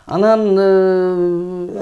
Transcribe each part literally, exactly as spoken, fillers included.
Анан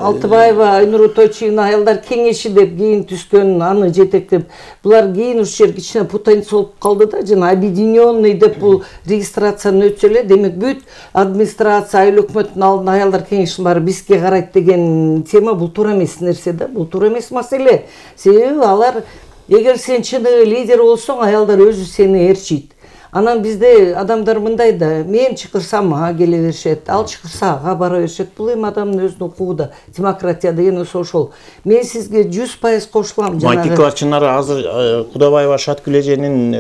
Алтыбаева Айнур Тойчуна аялдар кеңеши деп кийин түскөн, аны жетектеп. Булар кийин ушу жер кичине путаница болуп калды да, жана объединенный деп бул регистрацияны өтсө эле, демек бүт администрация, айыл өкмөттүн алдында аялдар кеңешинин баары бизге карайт деген тема бул туура эмес нерсе да, бул туура эмес маселе. Себеби алар, эгер сен чыныгы лидер болсоң, аялдар өзү сени ээрчийт. Анан бизде адамдар мындай да, мен чакырсам мага келе беришет, ал чакырса ага бара беришет. Бул эми адамдын өзүнүн укугу да. Демократия деген ошол. Мен сизге жүз пайыз кошулам. Майтикова Чынар азыр Кудабаева Шаткүл эженин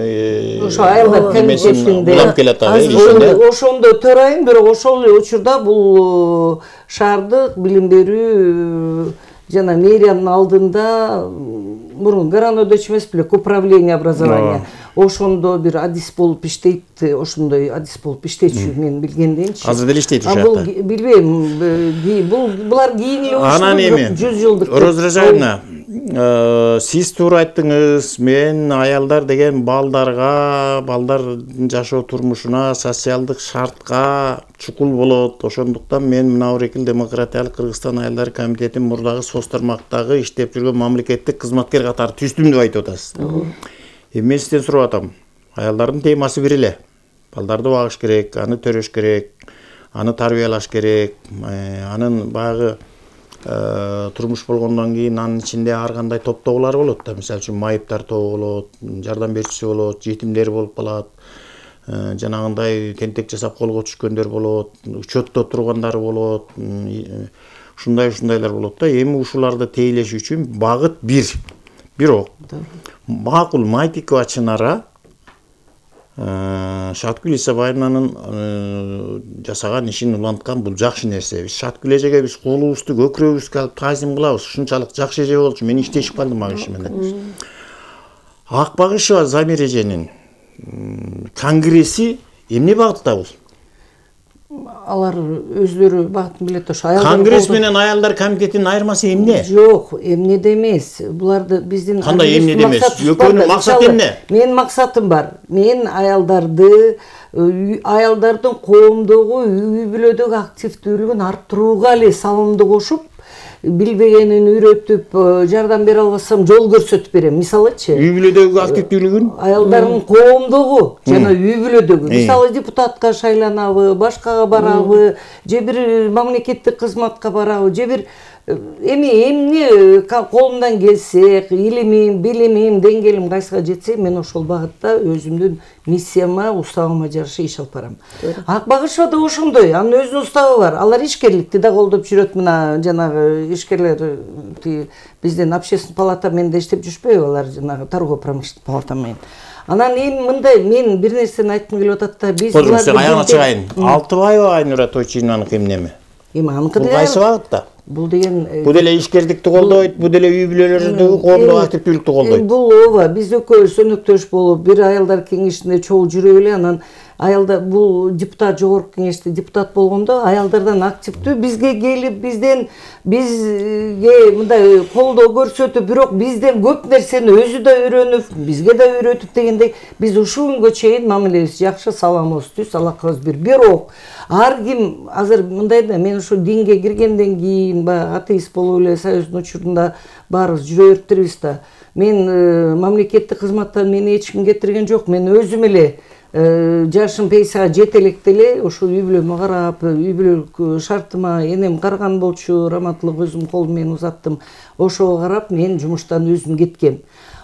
ошо аялдар комитетинде улам келет ишинде. Ошондо төрайым, бирок ошол эле учурда бул шаардык билим берүү жана мэриянын алдында мурун Гранодоч эмес беле, управление образования. Ошондо бир адис болуп иштейт, ошондой адис болуп иштечү мен билгенденчи. Азыр деле иштейт ошол жакта. Бул билбейм, бул булар кийин эле ошондой жүз жылдык. Роза Ражаевна, сиз туура айттыңыз, мен аялдар деген балдарга, балдардын жашоо турмушуна, социалдык шартка чукул болот. Ошондуктан мен мына Орекил демократиялык Кыргызстан аялдар комитетинин мурдагы соц тармактагы иштеп жүргөн мамлекеттик кызматкер катары түздүм деп айтып атасыз. Эми мен сизден сурап атам. Аялдардын темасы бир эле. Балдарды багыш керек, аны төрөш керек, аны тарбиялаш керек, анын баягы турмуш болгондон кийин анын ичинде ар кандай топтогулар болот да. Мисалы үчүн майыптар тобу болот, жардам берүүчүсү болот, жетимдер болуп калат. Жанагындай тентек жасап колго түшкөндөр болот, учетто тургандар болот. Ушундай-ушундайлар болот да. Эми ушуларды тейлеш үчүн багыт бир. Бирок макул Майтикова Чынара Шаткүл Исабаевнанын жасаган ишин уланткан бул жакшы нерсе. Биз Шаткүл эжеге биз колубузду көкүрөгүбүзгө алып таазим кылабыз. Ушунчалык жакшы эже болчу. Мен иштешип калдым ал киши менен. Акбагышева Замир эженин конгресси эмне багытта бул? Алар өзлөрү багытын билет ошо. Конгресс менен аялдар комитетинин айырмасы эмне? Жок, эмнеде эмес. Буларды биздин кандай эмнеде эмес? Экөөнүн максаты эмне? Менин максатым бар. Мен аялдарды, аялдардын коомдогу, үй бүлөдөгү активдүүлүгүн арттырууга эле салымды кошуп, билбегенин үйрөтүп, жардам бере албасам жол көрсөтүп берем. Мисалычы, үй бүлөдөгү активдүүлүгүн аялдардын коомдогу жана үй бүлөдөгү. Мисалы депутатка шайланабы, башкага барабы, же бир мамлекеттик кызматка барабы, же бир эми эмне колумдан келсе, илимим, билимим, деңгээлим кайсыга жетсе, мен ошол багытта өзүмдүн миссияма, уставыма жараша иш алып барам. Акбагышева да ошондой, анын өзүнүн уставы бар. Алар ишкерликти да колдоп жүрөт. Мына жанагы ишкерлер биздин общественный палата менен иштеп жүрүшпөйбү, алар жанагы торгово-промышленный палата менен. Анан эми мындай, мен бир нерсени айткым келип атат да, биз буларды аягына чыгайын. Алтыбаева Айнура Тойчуйнаныкы эмнеме? Эми аныкы деген кайсы багытта? Бул деген бул деле ишкердикти колдойт, бул деле үй бүлөлөрдөгү коомдогу активдүүлүктү колдойт. Бул ооба, биз экөөбүз өнөктөш болуп, бир аялдар кеңешинде чогуу жүрүп эле, анан аялдар бул депутат, жогорку кеңеште депутат болгондо аялдардан активдүү бизге келип, бизден бизге мындай колдоо көрсөтүп, бирок бизден көп нерсени өзү да үйрөнүп, бизге да үйрөтүп дегендей, биз ушул күнгө чейин мамилебиз жакшы, саламыбыз түз, алакыбыз бир. Бирок ар ким азыр мындай да, мен ошо динге киргенден кийин баягы атеист болуп эле Союздун учурунда баарыбыз жүрө бериптирбиз да. Мен мамлекеттик кызматтан мени эч ким кетирген жок. Мен өзүм эле жашым пенсияга жете электе эле ошо үй бүлөмө карап, үй бүлөлүк шартыма энем карган болчу, раматтуулук өзүм колум менен узаттым. Ошого карап мен жумуштан өзүм кеткем.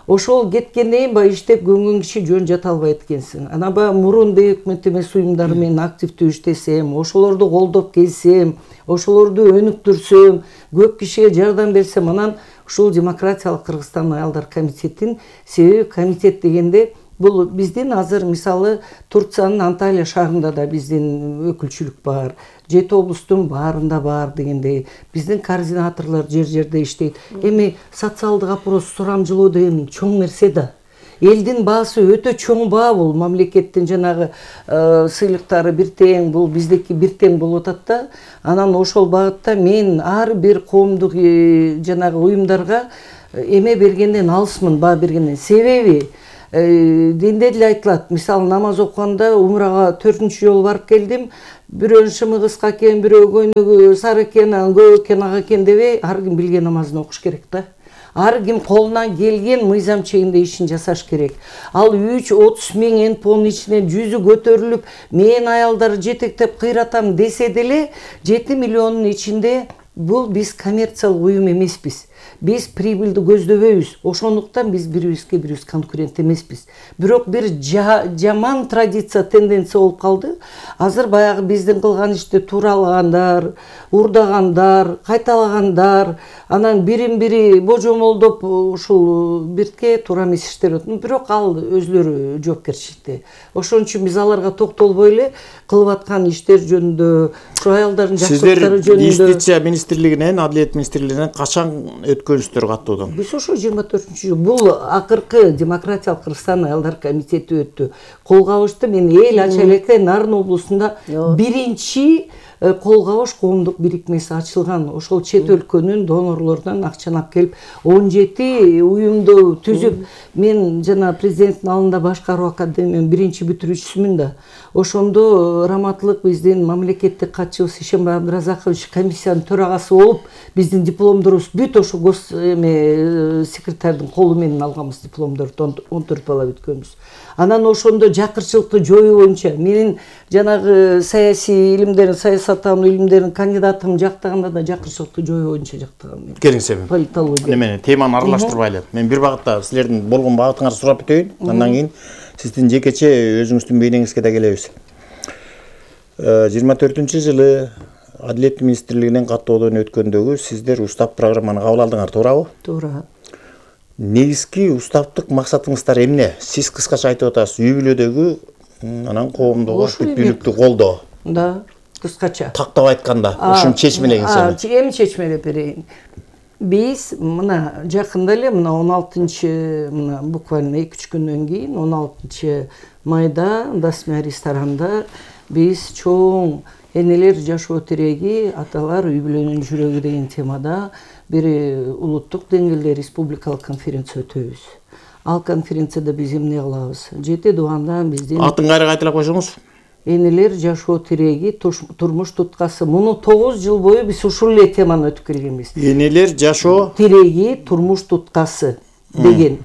Ошол кеткенден кийин баягы иштеп көнгөн киши жөн жата албайт экенсиң. Анан баягы мурун өкмөт эмес уюмдары менен активдүү иштесем, ошолорду колдоп келсем, ошолорду өнүктүрсөм, көп кишиге жардам берсем, анан ушул демократиялык Кыргызстан аялдар комитетин, себеби комитет дегенде бул биздин азыр мисалы Турциянын Анталия шаарында да биздин өкүлчүлүк бар, жети облустун баарында бар дегендей, биздин координаторлор жер-жерде иштейт. Эми социалдык опрос сурамжылоо деген чоң нерсе да. Элдин баасы өтө чоң баа бул, мамлекеттин жанагы сыйлыктары бир тең, бул биздики бир тең болуп атат да. Анан ошол багытта мен ар бир коомдук жанагы уюмдарга эме бергенден алысмын, баа бергенден. Себеби Динде деле айтылат. Мисалы намаз окуганда умрага төртүнчү жолу барып келдим. Бирөөнүн шымы кыска экен, бирөө көйнөгү сары экен, көп экен, ак экен дебей, ар ким билген намазын окуш керек да. Ар ким колунан келген мыйзам чегинде ишин жасаш керек. Ал үч отуз миң энпонун ичинен жүзү көтөрүлүп, мен аялдар жетектеп кыйратам десе деле, жети миллиондун ичинде бул биз коммерциялык уюм эмеспиз. Биз прибыльды көздөбөйбүз. Ошондуктан биз бири-бирибизге бирибиз конкурент эмеспиз. Бирок бир жаман традиция, тенденция болуп калды. Азыр баягы биздин кылган ишти туралагандар, урдагандар, кайталагандар, анан бирин-бири божомолдоп ушул бирке туура эмес иштер өтүп, бирок ал өзлөрү жоопкерчиликте. Ошон үчүн биз аларга токтолбой эле кылып аткан иштер жөнүндө, ушу аялдардын жакшылыктары жөнүндө. Сиздер Юстиция министрлигинен, Адилет министрлигинен качан өткөнсүздөр каттоодон? Биз ошо жыйырма төртүнчү жыл. Бул акыркы демократиялык Кыргызстан аялдар комитети өттү. Кол кабышты. Мен эл ача электе Нарын облусунда биринчи кол кабыш коомдук бирикмеси ачылган. Ошол чет өлкөнүн донорлорунан акчаны алып келип он жети уюмду түзүп, мен жана президенттин алдында башкаруу академиянын биринчи бүтүрүүчүсүмүн да. Ошондо раматтылык биздин мамлекеттик катчыбыз Ишембай Абдыразакович комиссиянын төрагасы болуп, биздин дипломдорубуз бүт ошо гос эме секретардын колу менен алганбыз дипломдорду, он төрт бала бүткөнбүз. Анан ошондо жакырчылыкты жоюу боюнча менин жанагы саясий илимдерин, саясаттануу илимдеринин кандидатым жактаганда да жакырчылыкты жоюу боюнча жактаган мен. Келиңиз эми. Политология. Немени теманы аралаштырбайлы. Мен бир багытта силердин болгон багытыңарды сурап өтөйүн. Андан кийин сиздин жекече өзүңүздүн бейнеңизге да келебиз. жыйырма төртүнчү жылы Адилет министрлигинен каттоодон өткөндөгү сиздер устав программаны кабыл алдыңар, туурабы? Туура. Негизги уставдык максатыңыздар эмне? Сиз кыскача айтып атасыз, үй бүлөдөгү анан коомдогу бүткүлүктү колдоо. Да, кыскача. Тактап айтканда, ушуну чечмелеңиз. Эми чечмелеп берейин. Биз мына жакында эле мына он алтынчы мына буквально эки үч күндөн кийин он алтынчы майда Дасмия ресторанында биз чоң энелер жашоо тиреги, аталар үй бүлөнүн жүрөгү деген темада бир улуттук деңгээлде республикалык конференция өтөбүз. Ал конференцияда биз эмне кылабыз? Жети дубандан биздин атын кайра кайталап койсоңуз? Энелер жашоо тиреги, турмуш туткасы. Муну тогуз жыл бою биз ушул эле теманы өтүп келгенбиз. Энелер жашоо тиреги, турмуш туткасы деген.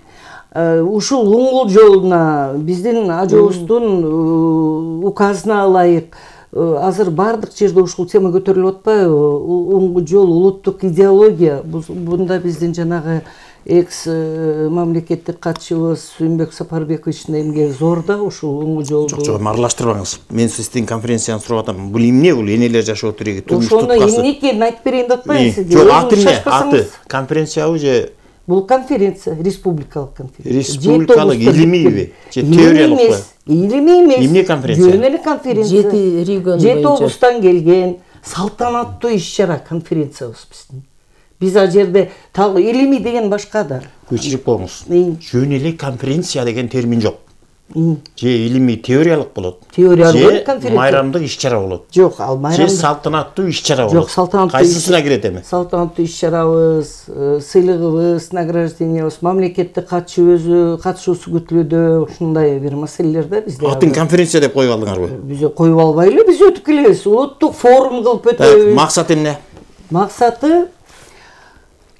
Ушул уңгул жолуна биздин ажообуздун указына ылайык азыр бардык жерде ушул тема көтөрүлүп атпайбы? Уңгул жол, улуттук идеология. Бунда биздин жанагы экс мамлекеттик катчыбыз Сүйүнбек Сапарбековичтин эмгеги зор да ушул уңгул жолду. Жок, жок, аралаштырбаңыз. Мен сиздин конференцияны сурап атам. Бул эмне бул? Энелер жашоо тиреги, турмуш туткасы. Ошону эмне экенин айтып берейин деп атпайбы сизге? Жок, аты эмне? Аты конференциябы же? Бул конференция, республикалык конференция. Республикалык илимийби? Же теориялыкпы? Илимий эмес. Эмне конференция? Жөн эле конференция. Жети регион боюнча. Жети облустан келген салтанаттуу иш-чара конференциябыз биздин. Биз ал жерде так илимий деген башка да. Көчүрүп коюңуз. Жөн эле конференция деген термин жок. Же илимий теориялык болот. Теориялык конференция. Же майрамдык иш-чара болот. Жок, ал майрамдык. Же салтанаттуу иш-чара болот. Жок, салтанаттуу. Кайсысына кирет эми? Салтанаттуу иш-чарабыз, сыйлыгыбыз, награждениябыз, мамлекеттик катчы өзү катышуусу күтүлүүдө, ушундай бир маселелерде бизде. Атын конференция деп коюп алдыңарбы? Биз коюп албайлы, биз өтүп келебиз. Улуттук форум кылып өтөбүз. Максат эмне? Максаты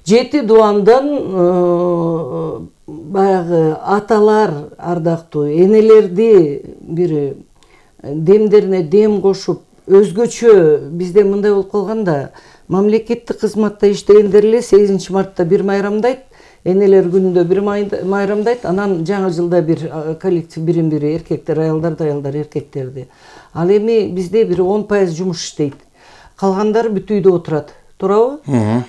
жети дубандан баягы аталар ардактуу энелерди бир демдерине дем кошуп, өзгөчө бизде мындай болуп калганда, мамлекеттик кызматта иштегендер эле сегизинчи мартта бир майрамдайт, энелер күнүндө бир майрамдайт, анан жаңы жылда бир коллектив бирин-бири эркектер, аялдарды, аялдар эркектерди. Ал эми бизде бир он пайыз жумуш иштейт. Калгандары бүт үйдө отурат. Туурабы?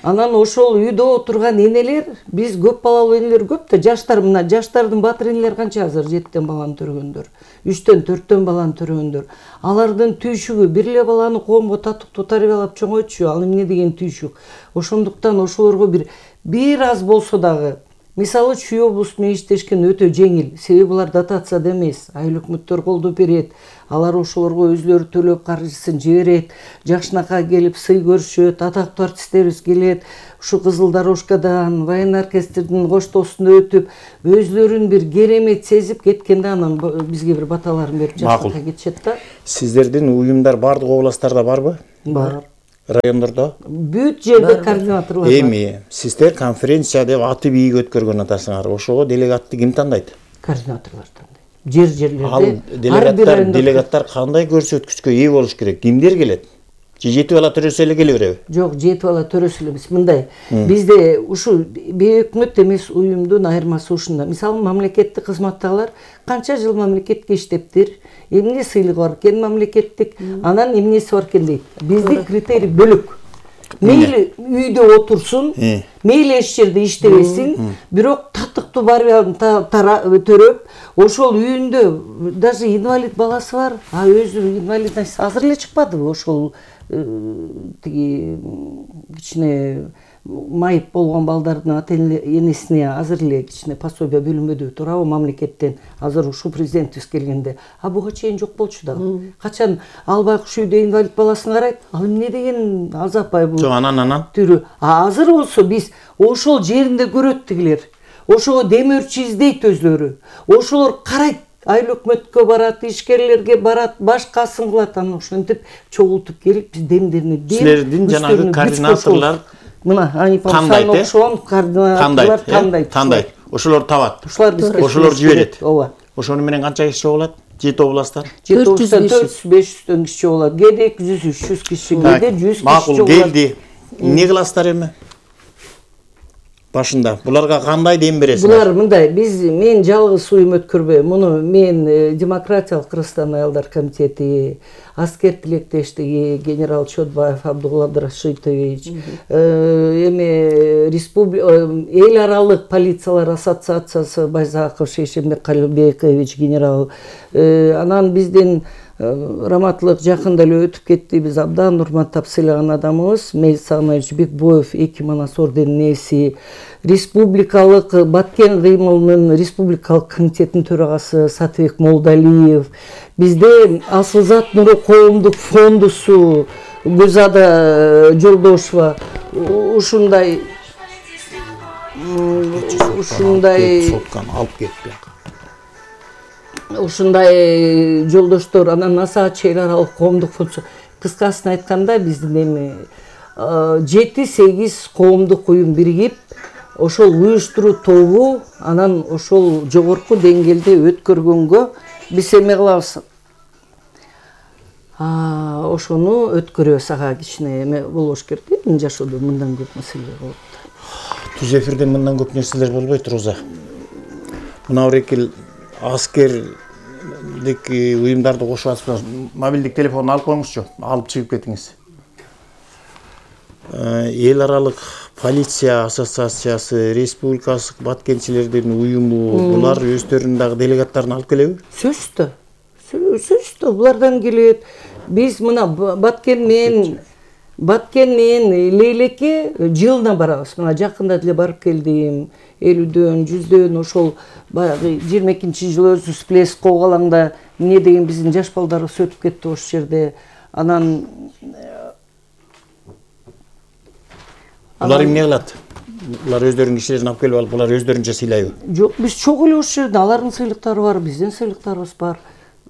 Анан ошол үйдө отурган энелер, биз көп балалуу энелер көп да, жаштар мына жаштардын батыр энелер канча азыр жеттен баланы төрөгөндөр, үчтөн, төрттөн баланы төрөгөндөр. Алардын түйшүгү бир эле баланы коомго татыктуу тарбиялап чоңойтчу, ал эмне деген түйшүк. Ошондуктан ошолорго бир бир аз болсо дагы Мисалы Чүй облусу менен иштешкен өтө жеңил. Себеби булар дотацияда эмес, айыл өкмөттөр колдоо берет. Алар ошолорго өзлөрү төлөп каржысын жиберет. Жакшынакка келип сый көрүшөт, атактуу артисттерибиз келет. Ушу Кызыл Дорожкадан, военный оркестрдин коштоосунда өтүп, өзлөрүн бир керемет сезип кеткенде анан бизге бир баталарын берип жакшынакка кетишет да. Сиздердин уюмдар бардык областтарда барбы? Бар. Райондордо? Бүт жерде координаторлор бар. Эми сиздер конференция деп аты бийик өткөргөн атасыңар. Ошого делегатты ким тандайт? Координаторлор тандайт. Жер жерлерде. Ал делегаттар, делегаттар кандай көрсөткүчкө ээ болуш керек? Кимдер келет? Же жети бала төрөсү эле келе береби? Жок, жети бала төрөсү эле эмес. Мындай, бизде ушу бейөкмөт эмес уюмдун айырмасы ушунда. Мисалы, мамлекеттик кызматтагылар канча жыл мамлекетке иштептир, эмне сыйлыгы бар экен мамлекеттик, анан эмнеси бар экен дейт. Бизде критерий бөлөк. Мейли үйдө отурсун, мейли эч жерде иштебесин, бирок татыктуу барбыягын төрөп, ошол үйүндө даже инвалид баласы бар, а өзү инвалидность азыр эле чыкпадыбы ошол тиги кичине майып болгон балдардын ата энесине азыр эле кичине пособие бөлүнбөдүбү туурабы мамлекеттен азыр ушул президентибиз келгенде. А буга чейин жок болчу дагы. Качан ал байкуш үйдө инвалид баласын карайт, ал эмне деген азапай бул. Жок, анан анан Түрү. А азыр болсо биз ошол жеринде көрөт тигилер. Ошого демөөрчү издейт өзлөрү. Ошолор карайт. Айыл өкмөткө барат, ишкерлерге барат, башкасын кылат, анан ошентип чогултуп келип биз демдерине берип. Силердин жанагы координаторлор мына ани памсан окшогон координаторлор тандайт. Тандайт. Ошолор табат. Ошолор бизге ошолор жиберет. Ооба. Ошону менен канча киши болот? Жети областтан. Жети областтан төрт жүз беш жүздөн киши болот. Кээде эки жүз үч жүз киши, кээде жүз киши болот. Макул, келди. Эмне кыласыздар эми? Башында буларга кандай дем бересиңер? Булар мындай, биз мен жалгыз уюм өткөрбөйм. Муну мен Демократиялык Кыргызстан аялдар комитети, аскер тилектештиги, генерал Чотбаев Абдулла Абдрашитович, эми республика эл аралык полициялар ассоциациясы Байзаков Шейшембек Калыбекович генерал, анан биздин раматтылык жакында эле өтүп кетти. Биз абдан урматтап сыйлаган адамыбыз Мейс Сагынович Бекбоев эки манас орденин ээси, республикалык Баткен кыймылынын республикалык комитетинин төрагасы Сатыбек Молдалиев, бизде Асылзат Нуру коомдук фондусу Гүлзада Жолдошева ушундай ушундай алып кетпей ушундай жолдоштор, анан Насаачы эл аралык коомдук фондусу. Кыскасын айтканда биздин эми жети сегиз коомдук уюм биригип, ошол уюштуруу тобу анан ошол жогорку деңгээлде өткөргөнгө биз эме кылабыз. Ошону өткөрөбүз, ага кичине эме болуш керек. Эмне жашоодо мындан көп маселелер болот. Түз эфирде мындан көп нерселер болбойт, Роза. Мына орекил аскердик уюмдарды кошуп атып, мобилдик телефонду алып коюңузчу, алып чыгып кетиңиз. Эл аралык полиция ассоциациясы, республикалык баткенчилердин уюму, булар өздөрүнүн дагы делегаттарын алып келеби? Сөзсүздө. Сөзсүздө булардан келет. Биз мына Баткен менен Баткен менен Лейлекке жылына барабыз. Мына жакында деле барып келдим. элүүдөн, жүздөн ошол баягы жыйырма экинчи жылы өзү сплеск Когалаңда эмне деген биздин жаш балдарыбыз өтүп кетти ошол жерде. Анан булар эмне кылат? Булар өздөрүнүн кишилерин алып келип алып, булар өздөрүнчө сыйлайбы? Жок, биз чогуу эле ошол жерде алардын сыйлыктары бар, биздин сыйлыктарыбыз бар.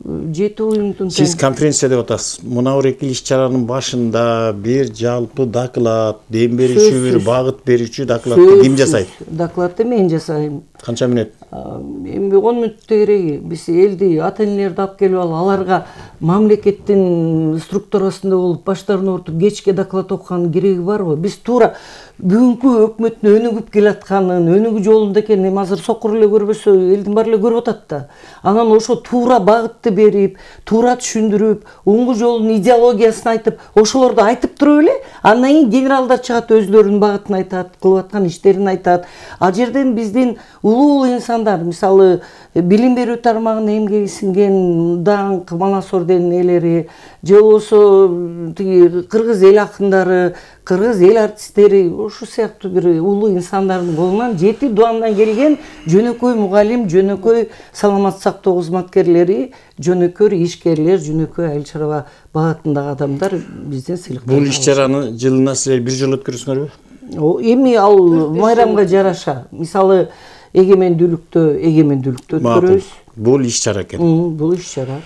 Жети уюмдун. Сиз конференция деп атасыз. Мына орекил иш-чаранын башында бир жалпы доклад, дем берүүчү, бир багыт берүүчү докладты ким жасайт? Докладты мен жасайм. Канча мүнөт? Эми он мүнөттө кереги. Биз элди, ата-энелерди алып келип алып, аларга мамлекеттин структурасында болуп, баштарын оорутуп, кечке доклад окуганын кереги барбы? Биз туура бүгүнкү өкмөттүн өнүгүп келатканын, өнүгүү жолунда экенин эми азыр сокур эле көрбөсө, элдин баары эле көрүп атат да. Анан ошо туура багытты берип, туура түшүндүрүп, оңгу жолдун идеологиясын айтып, ошолорду айтып туруп эле, андан кийин генералдар чыгат, өзлөрүнүн багытын айтат, кылып аткан иштерин айтат. Ал жерден биздин улуу инсан инсандар, мисалы билим берүү тармагына эмгеги сиңген даңк Манас орденинин ээлери же болбосо тиги кыргыз эл акындары, кыргыз эл артисттери ушул сыяктуу бир улуу инсандардын колунан жети дуандан келген жөнөкөй мугалим, жөнөкөй саламаттык сактоо кызматкерлери, жөнөкөй ишкерлер, жөнөкөй айыл чарба багытындагы адамдар бизден сыйлыктар. Бул иш-чараны жылына силер бир жолу өткөрөсүңөрбү? Эми ал майрамга жараша. Мисалы эгемендүүлүктө эгемендүүлүктө өткөрөбүз. Бул иш-чара экен. Бул иш-чара.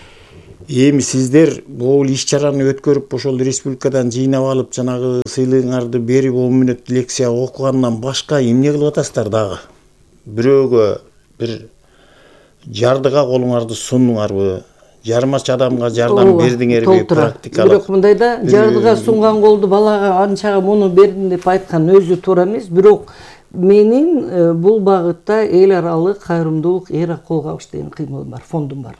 Эми сиздер бул иш-чараны өткөрүп, ошол республикадан жыйнап алып, жанагы сыйлыгыңарды берип, он мүнөт лекция окугандан башка эмне кылып атасыздар дагы? Бирөөгө бир жардыга колуңарды сундуңарбы? Жарымача адамга жардам бердиңерби практикалык? Бирок мындай да, жардыга сунган колду балага анчага муну бердим деп айткан өзү туура эмес. Бирок менин бул багытта эл аралык кайрымдуулук эра кол кабыш деген кыймылым бар, фондум бар.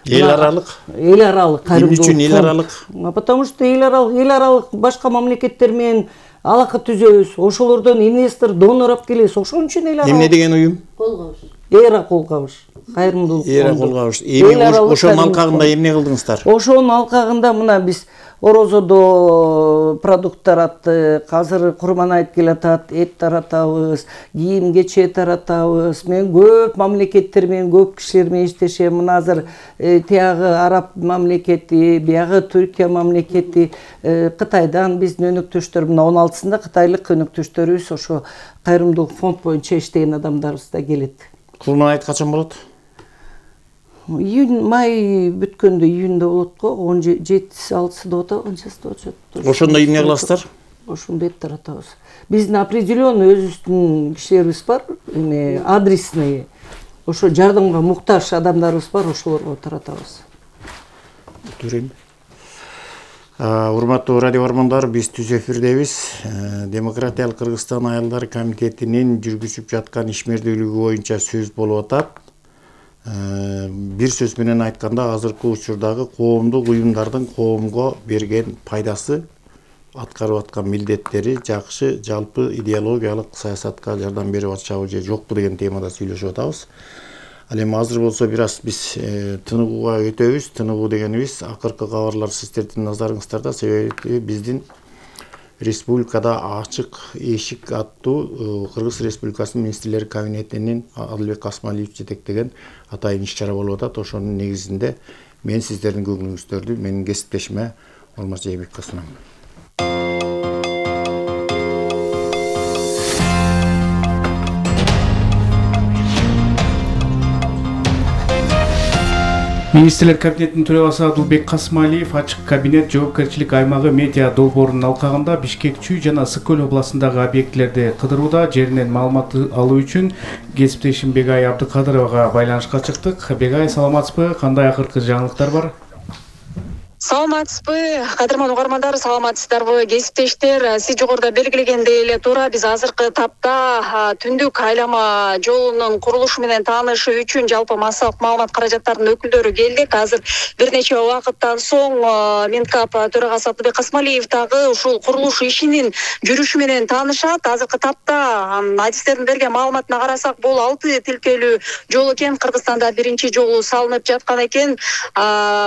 Эл аралык? Эл аралык кайрымдуулук. Эмне үчүн эл аралык? Потому что эл аралык, эл аралык башка мамлекеттер менен алака түзөбүз. Ошолордон инвестор, донор алып келебиз. Ошон үчүн эл аралык. Эмне деген уюм? Кол кабыш. Эра кол кабыш. Кайрымдуулук. Эра кол кабыш. Эми ошонун алкагында эмне кылдыңыздар? Ошонун алкагында мына биз Орозодо продукттар атты, азыр курман айт келатат, эт таратабыз, кийим кече таратабыз. Мен көп мамлекеттер менен, көп кишилер менен иштешем. Мына азыр тиягы араб мамлекети, биягы Түркия мамлекети, Кытайдан биздин өнөктөштөр, мына он алтысында кытайлык өнөктөштөрүбүз ошо кайрымдуулук фонд боюнча иштеген адамдарыбыз да келет. Курман айт качан болот? Июнь, май бүткөндө июньда болот го, он жетиси алтысында болот, он сегизинде болот. Ошондо эмне кыласыздар? Ошондо эт таратабыз. Биздин определенный өзүбүздүн кишилерибиз бар, эме адресный. Ошо жардамга муктаж адамдарыбыз бар, ошолорго таратабыз. Көрөйм. Урматтуу радио бармандар, биз түз эфирдебиз. Демократиялык Кыргызстан айылдар комитетинин жүргүзүп жаткан ишмердүүлүгү боюнча сөз болуп атат. Бир сөз менен айтканда, азыркы учурдагы коомдук уюмдардын коомго берген пайдасы, аткарып аткан милдеттери жакшы, жалпы идеологиялык саясатка жардам берип атышабы же жокпу деген темада сүйлөшүп атабыз. Ал эми азыр болсо бир аз биз тыныгууга өтөбүз. Тыныгуу дегенибиз акыркы кабарлар сиздердин назарыңыздарда, себеби биздин республикада ачык эшик аттуу Кыргыз Республикасынын министрлер кабинетинин Адылбек Касмалиев жетектеген атайын иш-чара болуп атат. Ошонун негизинде мен сиздердин көңүлүңүздөрдү менин кесиптешиме Алмаз Жээнбековго сунам. Министрлер кабинетинин төрагасы Адылбек Касмалиев ачык кабинет жоопкерчилик аймагы медиа долбоорунун алкагында Бишкек Чүй жана Ысык Көл областындагы объектилерди кыдырууда жеринен маалымат алуу үчүн кесиптешим Бегай Абдыкадыровага байланышка чыктык. Бегай, саламатсызбы? Кандай акыркы жаңылыктар бар? Саламатсызбы, кадырман угармандар, саламатсыздарбы, кесиптештер. Сиз жогоруда белгилегендей эле туура, биз азыркы тапта түндүк айлама жолунун курулушу менен таанышы үчүн жалпы массалык маалымат каражаттарынын өкүлдөрү келдик. Азыр бир нече убакыттан соң Минкап төрагасы Адылбек Касмалиев дагы ушул курулуш ишинин жүрүшү менен таанышат. Азыркы тапта адистердин берген маалыматына карасак, бул алты тилкелүү жол экен. Кыргызстанда биринчи жолу салынып жаткан экен.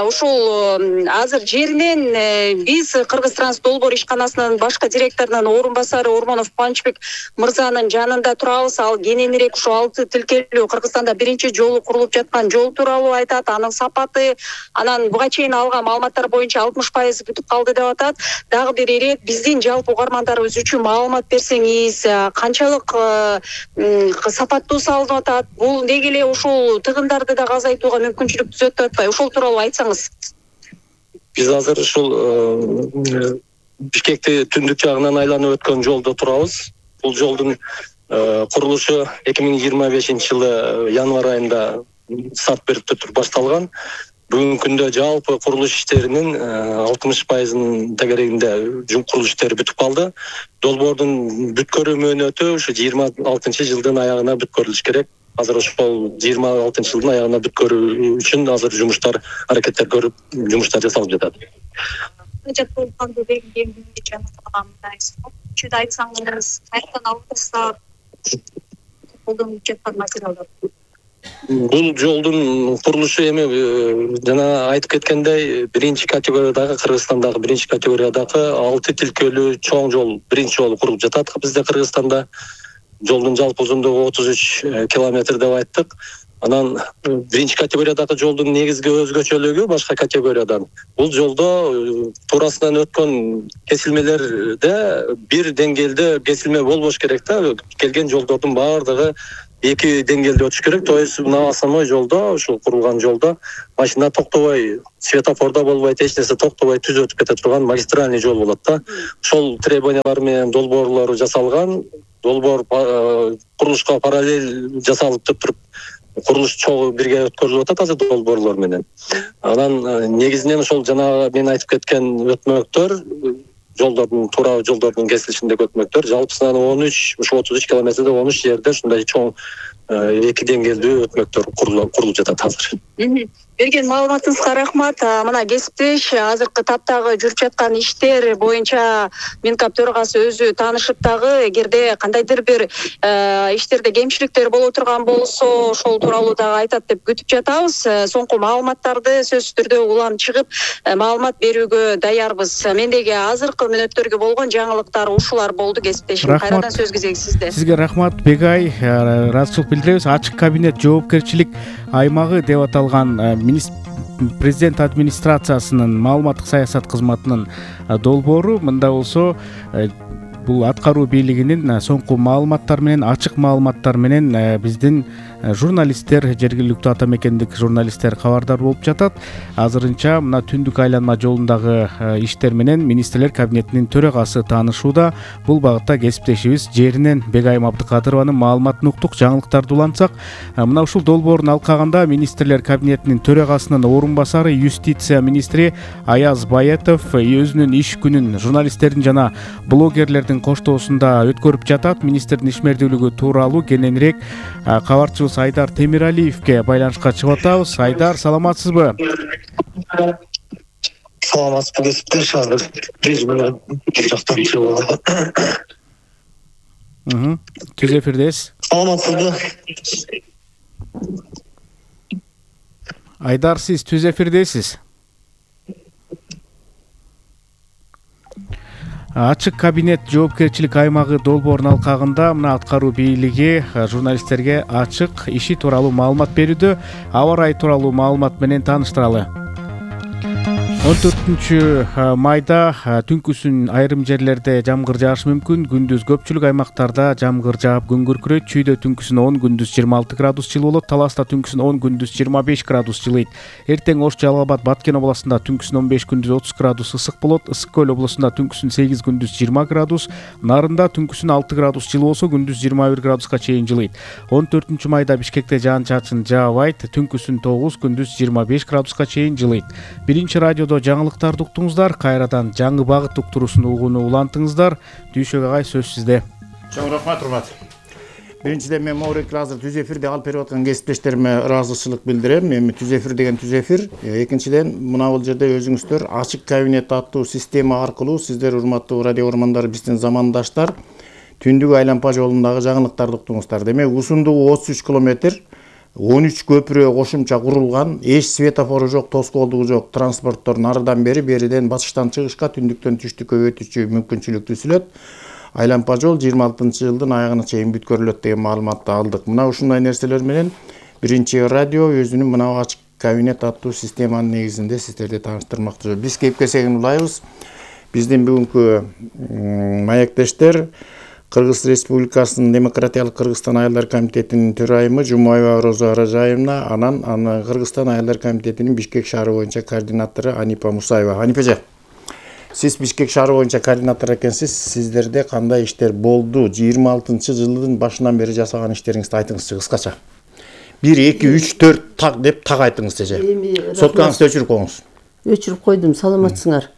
Ушул азыр жеринен биз Кыргыз Транс долбоор ишканасынын башкы директорунун орун басары Урманов Панчбек мырзанын жанында турабыз. Ал кененирээк ушу алты тилкелүү Кыргызстанда биринчи жолу курулуп жаткан жол тууралуу айтат. Анын сапаты, анан буга чейин алган маалыматтар боюнча алтымыш пайыз бүтүп калды деп атат. Дагы бир ирет биздин жалпы угармандарыбыз үчүн маалымат берсеңиз, канчалык сапаттуу салынып атат? Бул деги эле ушул тыгындарды да азайтууга мүмкүнчүлүк түзөт деп атпайбы? Ошол тууралуу айтсаңыз. Биз азыр ушул Бишкекти түндүк жагынан айланып өткөн жолдо турабыз. Бул жолдун курулушу эки миң жыйырма бешинчи жылы январь айында старт берип башталган. Бүгүнкү күндө жалпы курулуш иштеринин алтымыш пайызынын тегерегинде курулуш иштери бүтүп калды. Долбоордун бүткөрүү мөөнөтү ушу жыйырма алтынчы жылдын аягына бүткөрүлүш керек. Азыр ошол жыйырма алтынчы жылдын аягына бүткөрүү үчүн азыр жумуштар, аракеттер көрүп, жумуштар жасалып жатат. Айтсаңыз, кайрадан алып таштап колдонуп жаткан материалдар. бул жолдун курулушу эми жана айтып кеткендей биринчи категориядагы Кыргызстандагы биринчи категориядагы алты тилкелүү чоң жол биринчи жолу курулуп жатат бизде Кыргызстанда. Жолдун жалпы узундугу отуз үч километр деп айттык. Анан биринчи категориядагы жолдун негизги өзгөчөлүгү башка категориядан бул жолдо туурасынан өткөн кесилмелерде бир деңгээлде кесилме болбош керек да. Келген жолдордун баардыгы эки деңгээлде өтүш керек. То есть мына основной жолдо, ушул курулган жолдо машина токтобой, светофордо болбойт, эч нерсе токтобой түз өтүп кете турган магистральный жол болот да. Ошол требованиялар менен долбоорлору жасалган. Долбоор курулушка параллель жасалып туруп курулуш чогуу бирге өткөрүлүп атат азыр долбоорлор менен. Анан негизинен ошол жанагы мен айтып кеткен өтмөктөр, жолдордун туура жолдордун кесилишиндеги өтмөктөр жалпысынан он үч, ошо отуз үч километрде он үч жерде ушундай чоң эки деңгээлдүү өтмөктөр курулуп жатат азыр. Берген маалыматыңызга рахмат. Мына кесиптеш азыркы таптагы жүрүп жаткан иштер боюнча Минкап төрагасы өзү таанышып дагы эгерде кандайдыр бир иштерде кемчиликтер боло турган болсо ошол тууралуу дагы айтат деп күтүп жатабыз. Соңку маалыматтарды сөзсүз түрдө улам чыгып маалымат берүүгө даярбыз. Мендеги азыркы мүнөттөргө болгон жаңылыктар ушулар болду кесиптешим. Кайрадан сөз кезеги сизде. Сизге рахмат Бегай. Ыраазычылык билдиребиз. Ачык кабинет жоопкерчилик аймагы деп аталган президент администрациясынын маалыматтык саясат кызматынын долбоору мында болсо бул аткаруу бийлигинин соңку маалыматтар менен, ачык маалыматтар менен биздин журналисттер, жергиликтүү ата мекендик журналисттер кабардар болуп жатат. Азырынча мына түндүк айланма жолундагы иштер менен министрлер кабинетинин төрагасы таанышууда. Бул багытта кесиптешибиз жеринен Бегайым Абдыкадырованын маалыматын уктук. Жаңылыктарды улантсак, мына ушул долбоорун алкагында министрлер кабинетинин төрагасынын орун басары юстиция министри Аяз Баятов өзүнүн иш күнүн журналисттердин жана блогерлердин коштоосунда өткөрүп жатат. Министрдин ишмердүүлүгү тууралуу кененирээк кабарчыбыз Айдар Темиралиевке байланышка чыгып атабыз. Айдар, саламатсызбы? Саламатсызбы кесиптеш, азыр режимден жактан чыгып. Түз эфирдесиз. Саламатсызбы? Айдар, сиз түз эфирдесиз. Ачык кабинет жоопкерчилик аймагы долбоорун алкагында мына аткаруу бийлиги журналисттерге ачык иши тууралуу маалымат берүүдө. Аба ырайы тууралуу маалымат менен тааныштыралы. он төртүнчү майда түнкүсүн айрым жерлерде жамгыр жаашы мүмкүн. Күндүз көпчүлүк аймактарда жамгыр жаап күн күркүрөйт. Чүйдө түнкүсүн он, күндүз жыйырма алты градус жылуу болот. Таласта түнкүсүн он, күндүз жыйырма беш градус жылыйт. Эртең Ош, Жалал Абад, Баткен областында түнкүсүн он беш, күндүз отуз градус ысык болот. Ысык көл областында түнкүсүн сегиз, күндүз жыйырма градус. Нарында түнкүсүн алты градус жылуу болсо, күндүз жыйырма бир градуска чейин жылыйт. он төртүнчү майда Бишкекте жаан-чачын жаабайт. Түнкүсүн тогуз, күндүз жыйырма беш градуска чейин жылыйт. Биринчи радиодо жаңылыктарды уктуңуздар. Кайрадан жаңы багыт уктуруусун угууну улантыңыздар. Дүйшөк агай, сөз сизде. Чоң рахмат, урмат. Биринчиден мен Моурекил азыр түз эфирде алып берип аткан кесиптештериме ыраазычылык билдирем. Эми түз эфир деген түз эфир. Экинчиден мына бул жерде өзүңүздөр ачык кабинет аттуу система аркылуу сиздер урматтуу радио көрөрмандар, биздин замандаштар түндүк айланма жолундагы жаңылыктарды уктуңуздар. Демек узундугу отуз үч километр, он үч көпүрө кошумча курулган, эч светофору жок, тоскоолдугу жок транспорттор нарыдан бери, бериден батыштан чыгышка, түндүктөн түштүккө өтүүчү мүмкүнчүлүк түзүлөт. Айланма жол жыйырма алтынчы жылдын аягына чейин бүткөрүлөт деген маалыматты алдык. Мына ушундай нерселер менен биринчи радио өзүнүн мына ачык кабинет аттуу системанын негизинде сиздерди тааныштырмакчы. Биз кепке сегин улайбыз. Биздин бүгүнкү маектештер Кыргыз Республикасынын Демократиялык Кыргызстан айылдар комитетинин төрайымы Жумаева Роза Ражаевна, анан аны Кыргызстан айылдар комитетинин Бишкек шаары боюнча координатору Анипа Мусаева. Анипа эже, сиз Бишкек шаары боюнча координатор экенсиз. Сиздерде кандай иштер болду? жыйырма алтынчы жылдын башынан бери жасаган иштериңизди айтыңызчы кыскача. бир, эки, үч, төрт так деп так айтыңыз эже. Соткаңызды өчүрүп коюңуз. Өчүрүп койдум, саламатсыңар.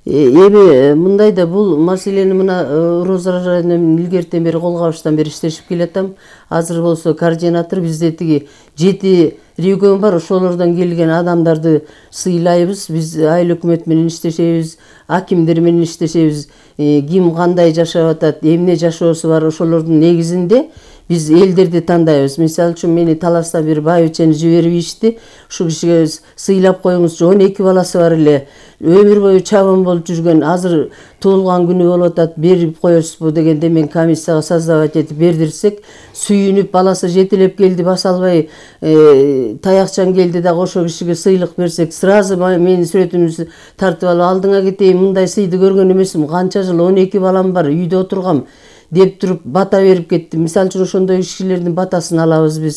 Эми мындайда бул маселени мына Роза Ражаевна илгертен бери кол кабыштан бери иштешип келатам. Азыр болсо координатор бизде тиги жети регион бар, ошолордон келген адамдарды сыйлайбыз. Биз айыл өкмөт менен иштешебиз, акимдер менен иштешебиз. Ким кандай жашап атат, эмне жашоосу бар, ошолордун негизинде биз элдерди тандайбыз. Мисалы үчүн мени Таластан бир байбичени жиберип ишти. Ушул кишиге сыйлап коюңузчу, он эки баласы бар эле. Өмүр бою чабан болуп жүргөн, азыр туулган күнү болуп атат, берип коесузбу дегенде мен комиссияга создавать этип бердирсек, сүйүнүп баласы жетелеп келди, баса албай таякчан келди да ошол кишиге сыйлык берсек, сразу менин сүрөтүмдү тартып алып, алдыңа кетейин, мындай сыйды көргөн эмесмин, канча жыл он эки балам бар, үйдө отургам деп туруп бата берип кетти. Мисалы үчүн ошондой кишилердин батасын алабыз биз.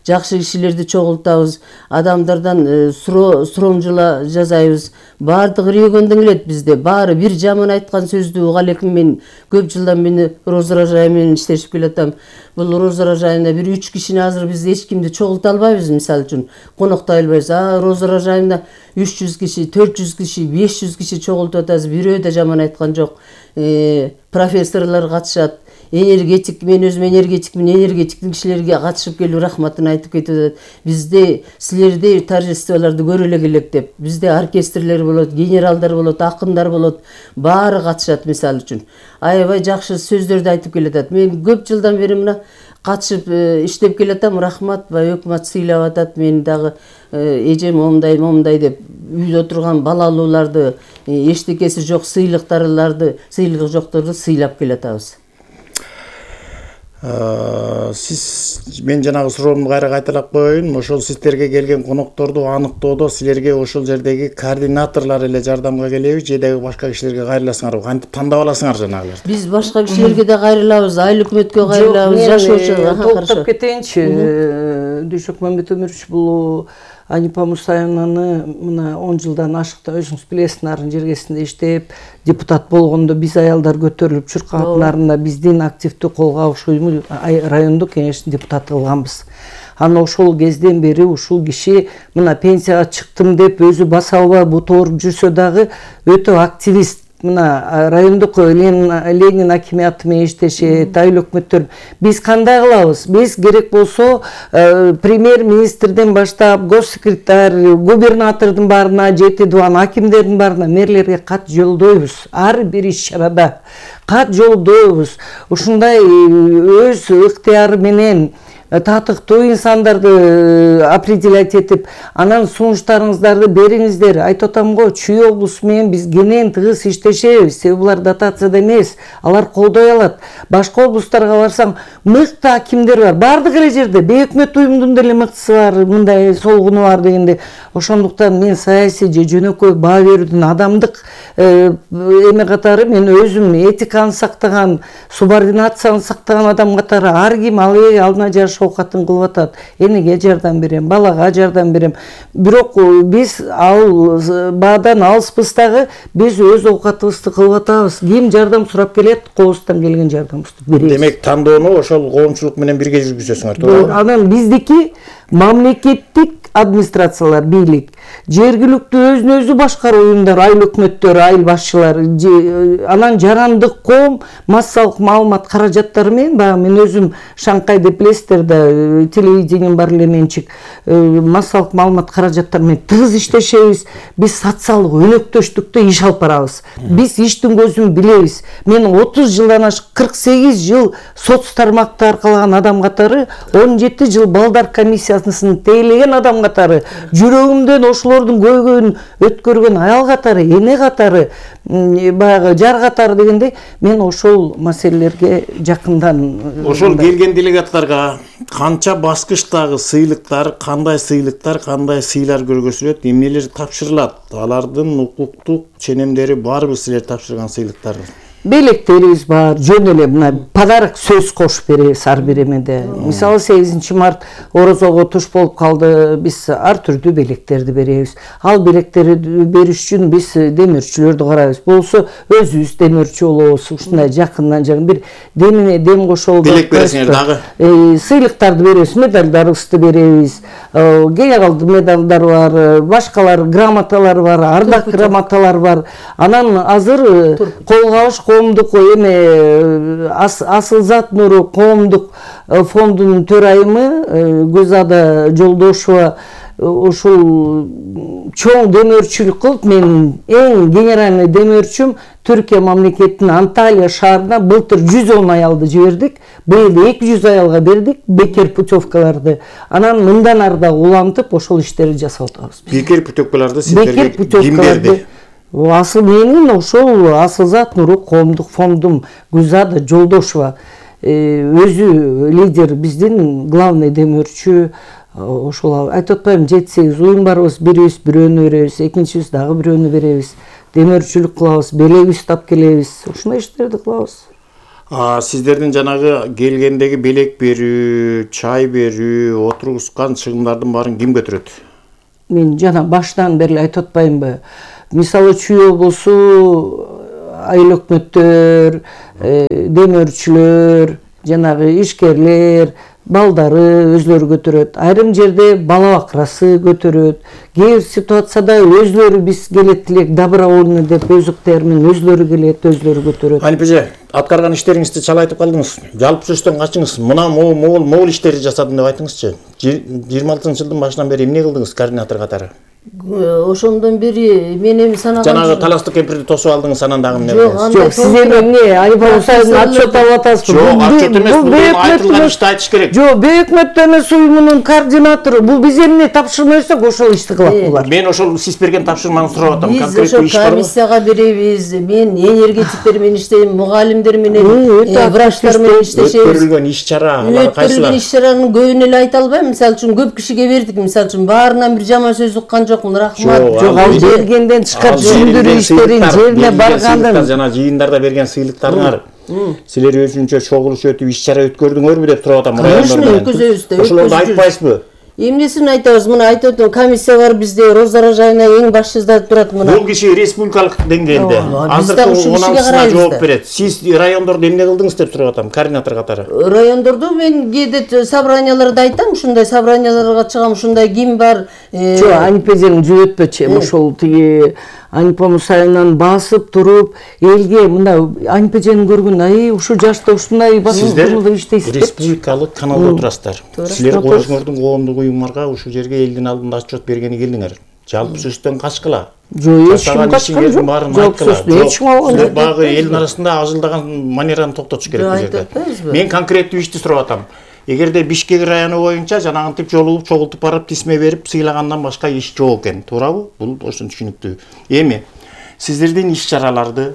Жакшы кишилерди чогултабыз, адамдардан суромжула жасайбыз. Баардыгы үйгөндөн келет бизде. Баары бир жаман айткан сөздү уга элекин. Мен көп жылдан мени Роза Ражай менен иштешип келатам. Бул Роза Ражайында бир үч кишини азыр биз эч кимди чогулта албайбыз, мисалы үчүн. Коноктой албайбыз. А Роза Ражайында үч жүз киши, төрт жүз киши, беш жүз киши чогултуп атабыз. Бирөө да жаман айткан жок. Э, профессорлор катышат. Энергетик, мен өзүм энергетикмин, энергетиктин кишилерге катышып келип рахматын айтып кетип атат. Бизде силердей торжестволорду көрө эле келек деп. Бизде оркестрлер болот, генералдар болот, акындар болот, баары катышат мисалы үчүн. Аябай жакшы сөздөрдү айтып келатат. Мен көп жылдан бери мына катышып иштеп келатам. Рахмат, бай өкмөт сыйлап атат. Мен дагы эжем момундай, момундай деп үйдө отурган балалууларды, эчтекеси жок сыйлыктарларды, сыйлыгы жокторду сыйлап келатабыз. Сиз, мен жанагы суроомду кайра кайталап коеюн. Ошол сиздерге келген конокторду аныктоодо силерге ошол жердеги координаторлор эле жардамга келеби же дагы башка кишилерге кайрыласыңарбы? Кантип тандап аласыңар жанагыларды? Биз башка кишилерге да кайрылабыз, айыл өкмөткө кайрылабыз, жашоочу. Токтоп кетейинчи. Дүйшөк Мамбет Өмүрович, бул Анипа Мусаевнаны мына он жылдан ашыкта өзүңүз билесиз, нарын жергесинде иштеп, депутат болгондо биз аялдар көтөрүлүп чуркап, нарында биздин активдүү колго алыш уюму райондук кеңештин депутаты кылганбыз. Аны ошол кезден бери ушул киши мына пенсияга чыктым деп өзү баса албай бутооруп жүрсө дагы өтө активист. Мына райондук Ленин акимиаты менен иштешет, айыл өкмөттөр. Биз кандай кылабыз? Биз керек болсо премьер-министрден баштап, госсекретарь, губернатордун баарына, жети дубан акимдердин баарына, мэрлерге кат жолдойбуз. Ар бир иш-чарада кат жолдойбуз. Ушундай өз ыктыяры менен татыктуу инсандарды определять этип, анан сунуштарыңыздарды бериңиздер. Айтып атам го, Чүй облусу менен биз кенен тыгыз иштешебиз. Себеби булар дотацияда эмес, алар колдой алат. Башка облустарга барсаң, мыкты акимдер бар. Бардык эле жерде бейөкмөт уюмдун деле мыктысы бар, мындай солгуну бар дегенде. Ошондуктан мен саясий же жөнөкөй баа берүүдүн адамдык эме катары, мен өзүм этиканы сактаган, субординацияны сактаган адам катары ар ким ал алдына жаш оокатын кылып атат. Энеге жардам берем, балага жардам берем. Бирок биз ал баадан алыспыз дагы, биз өз оокатыбызды кылып атабыз. Ким жардам сурап келет, колубуздан келген жардамыбызды беребиз. Демек, тандоону ошол коомчулук менен бирге жүргүзөсүңөр, тоогу? Анан биздики мамлекеттик администрациялар, бийлик, жергиликтүү өзүн өзү башкаруу уюмдар, айыл өкмөттөр, айыл башчылары, анан жарандык коом массалык маалымат каражаттары менен, баягы мен өзүм Шанкай деп билесиздер да, телевидением бар эле менчик, массалык маалымат каражаттары менен тыгыз иштешебиз. Биз социалдык өнөктөштүктө иш алып барабыз. Биз иштин көзүн билебиз. Мен отуз жылдан ашык, кырк сегиз жыл соц тармакта аркалаган адам катары, он жети жыл балдар комиссиясын тейлеген адам катары, жүрөгүмдөн ошолордун көйгөйүн өткөргөн аял катары, эне катары, баягы жар катары дегендей, мен ошол маселелерге жакындан. Ошол келген делегаттарга канча баскычтагы сыйлыктар, кандай сыйлыктар, кандай сыйлар көргөзүлөт, эмнелер тапшырылат? Алардын укуктук ченемдери барбы силер тапшырган сыйлыктар? Белектерибиз бар, жөн эле мына подарок сөз кошуп беребиз ар бир эмеде. Мисалы сегизинчи март орозого туш болуп калды, биз ар түрдүү белектерди беребиз. Ал белектерди бериш үчүн биз демирчүлөрдү карайбыз. Болсо өзүбүз демирчү болобуз. Ушундай жакындан жакын бир демине дем кошолуп белек бересиңер дагы. Сыйлыктарды беребиз, медалдарыбызды беребиз. Генералдык медалдар бар, башкалар грамоталар бар, ардак грамоталар бар. Анан азыр колго алыш коомдук эме асыл зат нуру коомдук фондунун төрайымы Гүлзада Жолдошова ушул чоң демөөрчүлүк кылып менин эң генеральный демөөрчүм Түркия мамлекетинин Анталия шаарына былтыр жүз он аялды жибердик, быйыл эки жүз аялга бердик бекер путевкаларды. Анан мындан ары да улантып ошол иштерди жасап атабыз. Бекер путевкаларды сиздерге ким берди? Асыл менин ошол Асылзат Нурук коомдук фондум Гүлзада Жолдошова өзү лидер, биздин главный демөөрчү. Ошол айтып атпайм, жети сегиз уюм барбыз, бирибиз бирөөнү беребиз, экинчибиз дагы бирөөнү беребиз. Демөөрчүлүк кылабыз, белек тап келебиз. Ушундай иштерди кылабыз. А сиздердин жанагы келгендеги белек берүү, чай берүү, отургузган чыгымдардын баарын ким көтөрөт? Мен жана баштан бери айтып атпаймынбы? Мисалы Чүй облусу айыл өкмөттөр, демөөрчүлөр, жанагы ишкерлер, балдары өзлөрү көтөрөт. Айрым жерде бала бакырасы көтөрөт. Кээ бир ситуацияда өзлөрү биз келет элек добровольно деп өзүктөр менен өзлөрү келет, өзлөрү көтөрөт. Анип эже, аткарган иштериңизди чала айтып калдыңыз. Жалпы сөздөн качыңыз. Мына могул могул могул иштерди жасадым деп айтыңызчы. жыйырма алтынчы жылдын башынан бери эмне кылдыңыз координатор катары? Ошондон бери мен эми санаган жанагы таластык кемпирди тосуп алдыңыз, анан дагы эмне кылдыңыз? Жок, сиз эми эмне Айып Мусаевдин отчет алып атасызбы? Жок, отчет эмес, бул айтылган ишти айтыш керек. Жок, Бейөкмөт эмес уюмунун координатору. Бул биз эмне тапшырма берсек, ошол ишти кылат булар. Мен ошол сиз берген тапшырманы сурап атам. Биз ошол комиссияга беребиз. Мен энергетиктер менен иштейм, мугалимдер менен, врачтар менен иштешебиз. Өткөрүлгөн иш-чара, алар кайсылар? Өткөрүлгөн иш-чаранын көбүн эле айта албайм. Мисалы үчүн көп кишиге бердик, мисалы үчүн баарынан бир жаман сөз уккан жокмун. Рахмат. Жок, ал бергенден чыккан түшүндүрүү иштерин жерине баргандын. Жана жыйындарда берген сыйлыктарыңар. Силер өзүнчө чогулуш өтүп иш-чара өткөрдүңөрбү деп сурап атам. Конечно, өткөзөбүз да. Ошолорду айтпайсызбы? Эмнесин айтабыз? Мына айтып атам, комиссия бар бизде, Роза Ражаевна эң башчыда турат мына. Бул киши республикалык деңгээлде азыркы он алтысына жооп берет. Сиз райондордо эмне кылдыңыз деп сурап атам, координатор катары. Райондордо мен кээде собранияларда айтам, ушундай собранияларга чыгам, ушундай ким бар. Жок, Анипа эженин жүгөтпөчү, ошол тиги Анипа Мусаевнан басып туруп, элге мында Анипа эжени көргөн, ай, ушул жашта ушундай басып туруп иштейсиз деп. Республикалык каналда отурасыздар. Силер өзүңөрдүн коомдук уюмдарга ушул жерге элдин алдында отчет бергени келдиңер. Жалпы сөздөн качкыла. Жок, эч ким качкан жок. Жалпы сөздөн эч ким алган жок. Багы элдин арасында ажылдаган манераны токтотуш керек бул жерде. Мен конкреттүү ишти сурап атам. Эгерде Бишкек району боюнча жанагынтип жолугуп, чогултуп барып тисме берип сыйлагандан башка иш жок экен, туурабы? Бул ошон түшүнүктүү. Эми сиздердин иш-чараларды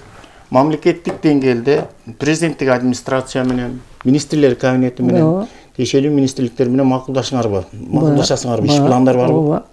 мамлекеттик деңгээлде президенттик администрация менен, министрлер кабинети менен, тиешелүү министрликтер менен макулдашыңарбы? Макулдашасыңарбы? Иш пландар барбы?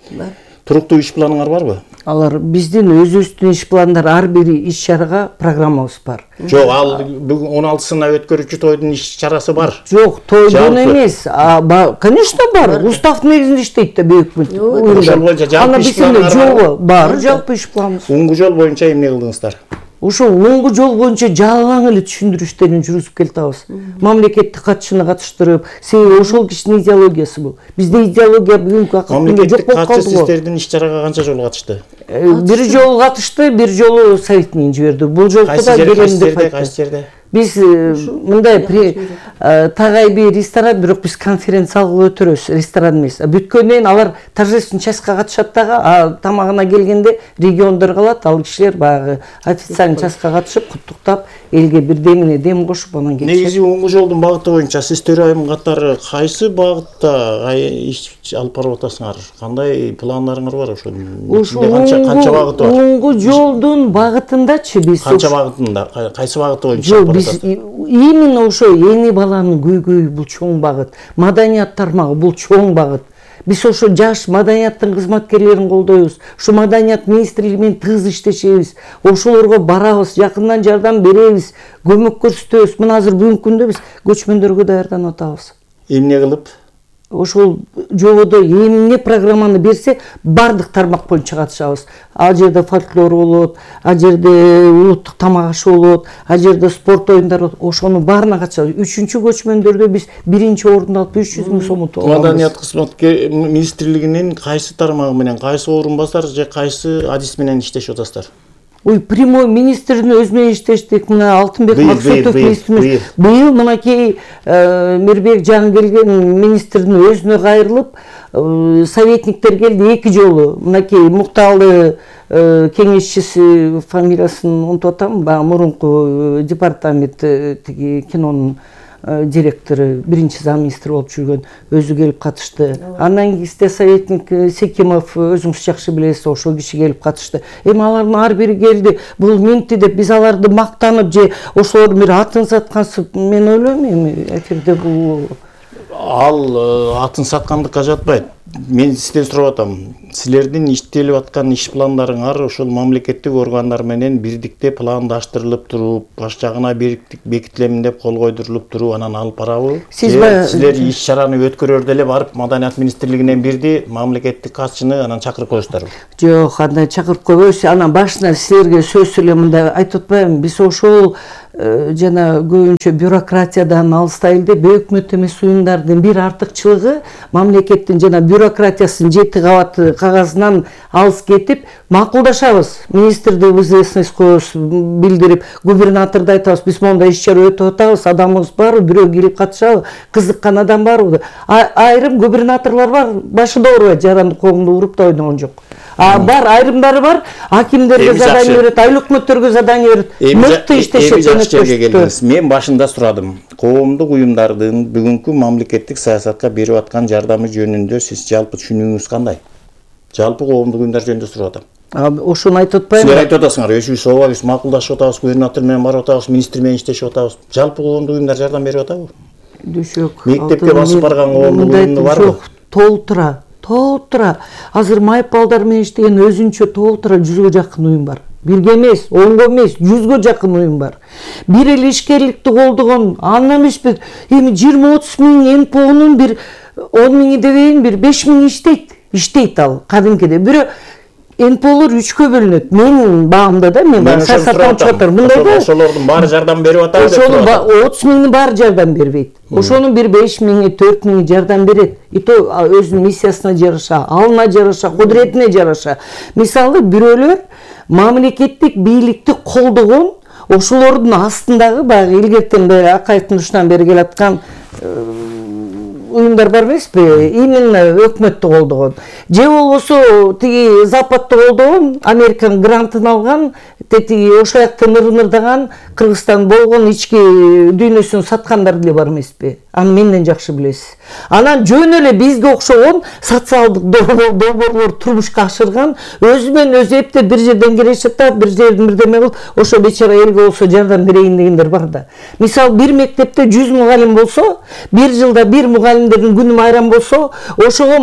Туруктуу иш планыңар барбы? Алар биздин өзүбүздүн иш пландар, ар бир иш-чарага программабыз бар. Жок, ал бүгүн он алтысына өткөрүүчү тойдун иш-чарасы бар. Жок, тойдун эмес. Конечно бар. Устав негизинде иштейт да Бейөкмөт. Ошол боюнча жалпы иш планыңар бар. Бар, жалпы иш планыбыз. Уңгу жол боюнча эмне кылдыңыздар? Ошол уңгу жол боюнча жалаң эле түшүндүрүү иштерин жүргүзүп келатабыз. Мамлекеттик катчыны катыштырып, себеби ошол кишинин идеологиясы бул. Бизде идеология бүгүнкү акыркында жок болуп калды. Катчы сиздердин иш-чарага канча жолу катышты? Бир жолу катышты, бир жолу советинен жиберди. Бул жолку да келем деп айтты. Кайсы жерде? Биз мындай тагайби ресторан, бирок биз конференция кылып өтөрөбүз, ресторан эмес. Бүткөндөн кийин алар торжественный частька катышат дагы, а тамагына келгенде региондор калат, ал кишилер баягы официальный частька катышып, куттуктап, элге бир демине дем кошуп анан кетишет. Негизи уңгу жолдун багыты боюнча сиз төрайым катары кайсы багытта иш алып барып атасыңар? Кандай пландарыңар бар ошол? Канча канча багыты бар? Уңгу жолдун багытындачы биз канча багытында, кайсы багыты боюнча? Биз именно ошо эни баланын көйгөйү бул чоң багыт, маданият тармагы бул чоң багыт. Биз ошо жаш маданияттын кызматкерлерин колдойбуз. Ушу маданият министрлиги менен тыгыз иштешебиз. Ошолорго барабыз, жакындан жардам беребиз, көмөк көрсөтөбүз. Мына азыр бүгүнкү күндө биз көчмөндөргө даярданып атабыз. Эмне кылып? Ошол жободо эмне программаны берсе, бардык тармак боюнча катышабыз. Ал жерде фольклор болот, ал жерде улуттук тамак ашы болот, ал жерде спорт оюндары болот. Ошонун баарына катышабыз. Үчүнчү көчмөндөрдө биз биринчи орунду алып үч жүз миң сомун алабыз. Маданият кызматкер министрлигинин кайсы тармагы менен, кайсы орун басар же кайсы адис менен иштешип атасыздар? Ой, прямой министрдин өзү менен иштештик. Мына Алтынбек Максутов министрimiz быйыл мынакей Мирбек Жаңгелген министрдин өзүнө кайрылып, советниктер келди эки жолу. Мынакей Мукталы кеңешчиси, фамилиясын унутуп атам, баягы мурунку департамент тиги кинонун директору, биринчи замминистр болуп жүргөн, өзү келип катышты. Андан кийин советник Секимов, өзүңүз жакшы билесиз, ошол киши келип катышты. Эми алардын ар бири келди, бул менти деп биз аларды мактанып же ошолордун бир атын саткансып, мен ойлойм эми эфирде бул ал атын саткандыкка жатпайт. Мен сизден сурап атам. Силердин иштелип аткан иш пландарыңар ошол мамлекеттик органдар менен бирдикте пландаштырылып туруп, баш жагына бекитилемин деп кол койдурулуп туруп, анан алып барабы? Силер иш чараны өткөрөрдө эле барып Маданият министрлигинен бирди мамлекеттик катчыны анан чакырып коесуздарбы? Жок, андай чакырып койбойбуз. Анан башынан силерге сөз эле мындай айтып атпаймынбы? Биз ошол жана көбүнчө бюрократиядан алыстайлы деп өкмөт эмес уюмдардын бир артыкчылыгы мамлекеттин жана бюрократиясынын жети кабат кагазынан алыс кетип макулдашабыз. Министрди в известность коебуз, билдирип, губернаторду айтабыз, биз мондай иш чара өтүп атабыз, адамыбыз барбы, бирөө келип катышабы, кызыккан адам барбы? Айрым губернаторлор бар, башында оорубайт, жаранды коомду уруп да ойногон жок. А бар, айрымдары бар, акимдерге задание берет, айыл өкмөттөргө задание берет. Мыкты иштешет. Мен башында сурадым. Коомдук уюмдардын бүгүнкү мамлекеттик саясатка берип аткан жардамы жөнүндө сиз жалпы түшүнүгүңүз кандай? Жалпы коомдук уюмдар жөнүндө сурап атам. Ошону айтып атпаймынбы? Силер айтып атасыңар, өзүбүз ооба биз макулдашып атабыз, губернатор менен барып атабыз, министр менен иштешип атабыз. Жалпы коомдук уюмдар жардам берип атабы? Жок. Мектепке басып барган коомдук уюмдар барбы? Жок, толтура. Толтура. Азыр майып балдар менен иштеген өзүнчө толтура жүзгө жакын уюм бар. Бирге эмес, онго эмес, жүзгө жакын уюм бар. Бир эле ишкерликти колдогон, андан эмеспи, эми жыйырма отуз миң эн пэ онун бир он миңи дебейин, бир беш миң иштейт. Иштейт ал, кадимкиде. Бирөө эн пэ олор үчкө бөлүнөт. Менин баамда да, мен баары саясаттан чыгып атам. Мындай да. Ошолордун баары жардам берип атабы деп турат. Ошонун отуз миңдин баары жардам бербейт. Ошонун бир беш миңи, төрт миңи жардам берет. И то өзүнүн миссиясына жараша, алына жараша, кудуретине жараша. Мисалы бирөөлөр мамлекеттик бийликти колдогон, ошолордун астындагы баягы илгертен бери Акаевдин ушунан бери келаткан уюмдар бар эмеспи? Именно өкмөттү колдогон. Же болбосо тиги Западты колдогон, Американын грантын алган, тетиги ошол жактан ырынырдаган, Кыргызстан болгон ички дүйнөсүн саткандар деле бар эмеспи? Аны менден жакшы билесиз. Анан жөн эле бизге окшогон социалдык долбоорлор турмушка ашырган, өзү менен өзү эптеп бир жерден келишип атат, бир жерден бирдеме кылып, ошо бечара элге болсо жардам берейин дегендер бар да. Мисалы, бир мектепте жүз мугалим болсо, бир жылда бир мугалимдердин күнү майрам болсо, ошого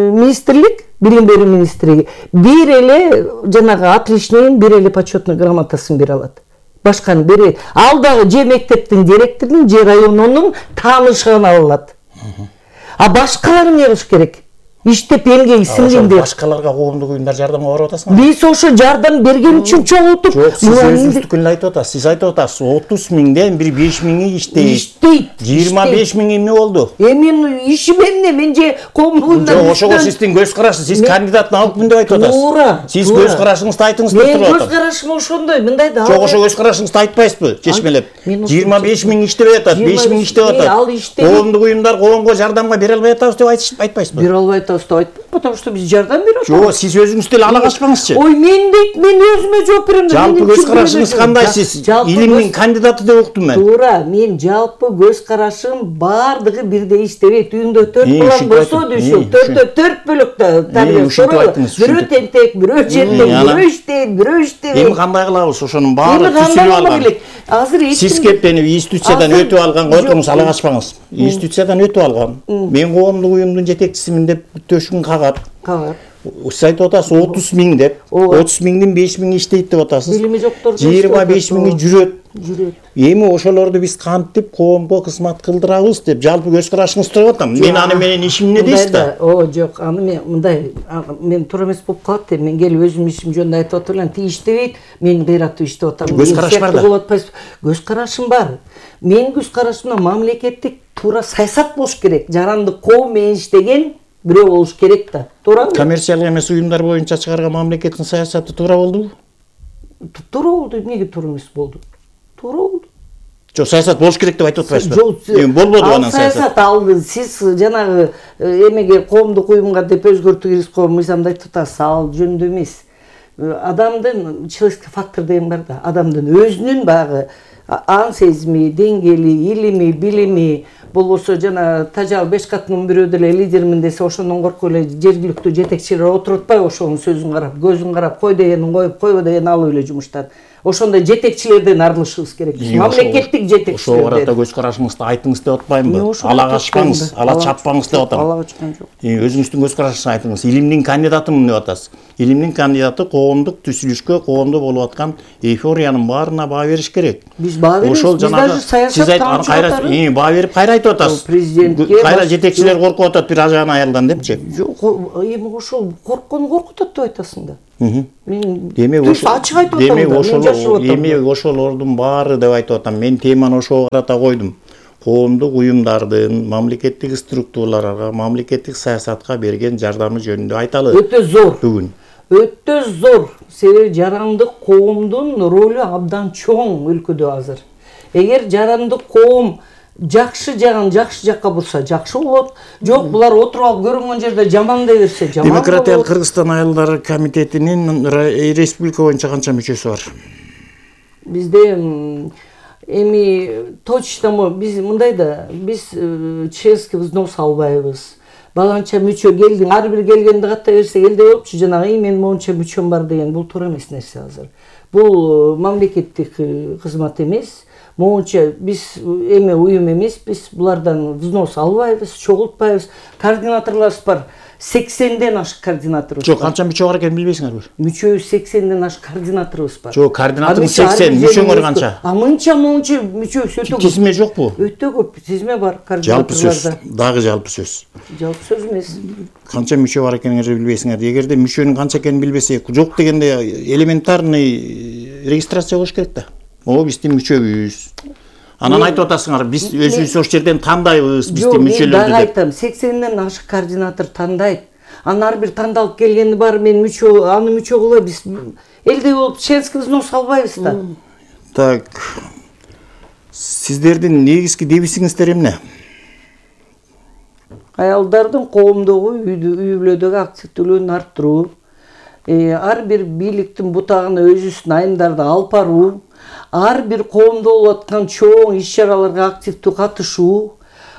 министрлик, билим берүү министрлиги бир эле жанагы отличныйын, бир эле почетный грамотасын бере алат. Башканы берет. Ал дагы же мектептин директорунун, же районунун таанышы гана ала алат. А башкалар эмне кылыш керек? Иштеп эмгеги сиңгендер. Башкаларга коомдук уюмдар жардамга барып атасыңар? Биз ошо жардам берген үчүн чогултуп, жок, сиз өзүңүздүкүн айтып атасыз. Сиз айтып атасыз, отуз миңден бир беш миңи иштейт. Иштейт. жыйырма беш миң эмне болду? Эми ишим эмне? Мен же коомдук уюмдар. Жок, ошого сиздин көз карашыңыз, сиз кандидатын алыпмын деп айтып атасыз. Туура. Сиз көз карашыңызды айтыңыз деп туруп атам. Мен көз карашым ошондой, мындай да. Жок, ошо көз карашыңызды айтпайсызбы? Чечмелеп. жыйырма беш миң иштебей атат, беш миң иштеп атат. Коомдук уюмдар коомго жардамга бере албай атабыз деп айтпайсызбы? Бере албай атабыз деп айтпайм, потому что биз жардам берип атабыз. Жок, сиз өзүңүз деле ала качпаңызчы. Ой, мен дейт, мен өзүмө жооп берем. Жалпы көз карашыңыз кандай? Сиз илимдин кандидаты деп уктум мен. Туура, мен жалпы көз карашым баардыгы бирдей иштебейт. Үйүндө төрт бала болсо дүйшү, төртө төрт бөлөктө тарбия. Бирөө тентек, бирөө жентек, бирөө иштейт, бирөө иштейт. Эми кандай кылабыз? Ошонун баары түзүлүп алган. Азыр эч сиз кептенип институциядан өтүп алган, отуруңуз, ала качпаңыз. Институциядан өтүп алган. Мен коомдук уюмдун жетекчисимин деп төшүн кагат. Кагат. Сиз айтып атасыз отуз миң деп, отуз миңдин беш миңи иштейт деп атасыз. Билими жоктор жыйырма беш миңи жүрөт. Жүрөт. Эми ошолорду биз кантип коомго кызмат кылдырабыз деп жалпы көз карашыңызды сурап атам. Мен аны менен ишим эмне дейсиз да? О, жок, аны мен мындай, мен туура эмес болуп калат деп, мен келип өзүм ишим жөнүндө айтып атам, ти иштебейт, мен кыйратып иштеп атам. Көз караш бар да. Көз карашым бар. Мен көз карашымда мамлекеттик туура саясат болуш керек. Жаранды коом менен иштеген бирөө болуш керек да. Туурабы? Коммерциялык эмес уюмдар боюнча чыгарган мамлекеттин саясаты туура болдубу? туура болду. Эмнеге туура эмес болду? Туура болду. Жок, саясат болуш керек деп айтып атпайсызбы? Жок, эми болбоду анан саясат. Саясат алды. Сиз жанагы эмеге коомдук уюмга деп өзгөртүү киргизип койгон мыйзамды айтып атасыз. Ал жөнүндө эмес. Адамдын человеческий фактор деген бар да. Адамдын өзүнүн багы ан сезими, деңгээли, илими, билими, болбосо жана тажал беш катынын бирөө деле лидермин десе ошондон коркуп эле жергиликтүү жетекчилер отуруп атпайбы ошонун сөзүн карап, көзүн карап, кой дегенин коюп, койбо дегенин алып эле жумуштан. Ошондой жетекчилерден арылышыбыз керек. Мамлекеттик жетекчилерден. Ошого карата көз карашыңызды айтыңыз деп атпаймынбы? Ала качпаңыз, ала чаппаңыз деп атам. Ала качкан жок. Өзүңүздүн көз карашыңызды айтыңыз. Илимдин кандидатымын деп атасыз. Илимдин кандидаты коомдук түзүлүшкө, коомдо болуп аткан эйфориянын баарына баа бериш керек. Биз баа беребиз. Ошол жанагы сиз айтып кайра баа берип кайра айтып атасыз. Президентке кайра жетекчилер коркуп атат бир ажаан аялдан депчи. Жок, эми ошол корккону коркутат деп айтасың да. Мен демек ошол ачык айтып атам. Демек ошол демек ошолордун баары деп айтып атам. Мен теманы ошого карата койдум. Коомдук уюмдардын мамлекеттик структураларга, мамлекеттик саясатка берген жардамы жөнүндө айталы. Өтө зор. Бүгүн. Өтө зор. Себеби жарандык коомдун ролу абдан чоң өлкөдө азыр. Эгер жарандык коом жакшы жагын жакшы жакка бурса жакшы болот. Жок, булар отуруп алып көрүнгөн жерде жамандай берсе жаман болот. Демократиялык Кыргызстан айылдары комитетинин республика боюнча канча мүчөсү бар? Бизде эми точно биз мындай да, биз членский взнос албайбыз. Баланча мүчө келдиң, ар бир келгенди ката берсе элде болупчу, жанагы мен монча мүчөм бар деген бул туура эмес нерсе азыр. Бул мамлекеттик кызмат эмес. Моунча биз эме уюм эмес, биз булардан взнос албайбыз, чогултпайбыз. Координаторлорубуз бар. сексенден ашык координаторубуз бар. Жок, канча мүчө бар экенин билбейсиңерби? Мүчөбүз сексенден ашык координаторубуз бар. Жок, координаторубуз сексен, мүчөңөр канча? А мынча монча мүчөбүз өтө көп. Тизме жокпу? Өтө көп тизме бар Жалпы сөз, координаторлордо. дагы жалпы сөз. Жалпы сөз эмес. Канча мүчө бар экениңерди билбейсиңер. Эгерде мүчөнүн канча экенин билбесек, жок дегенде элементарный регистрация болуш керек да. О, биздин мүчөбүз. Анан айтып атасыңар, биз өзүбүз ошол жерден тандайбыз, биздин мүчөлөрдү деп. Жок, мен айтам, сексенден ашык координатор тандайт. Анан ар бир тандалып келгени бар, мен мүчө, аны мүчө кылып, биз элде болуп членский взнос албайбыз да. Так. Сиздердин негизги дебисиңиздер эмне? Аялдардын коомдогу үй бүлөдөгү активдүүлүгүн арттыруу, ар бир бийликтин бутагына өзүбүздүн айымдарды алып баруу, ар бир коомдо болуп аткан чоң иш-чараларга активдүү катышуу,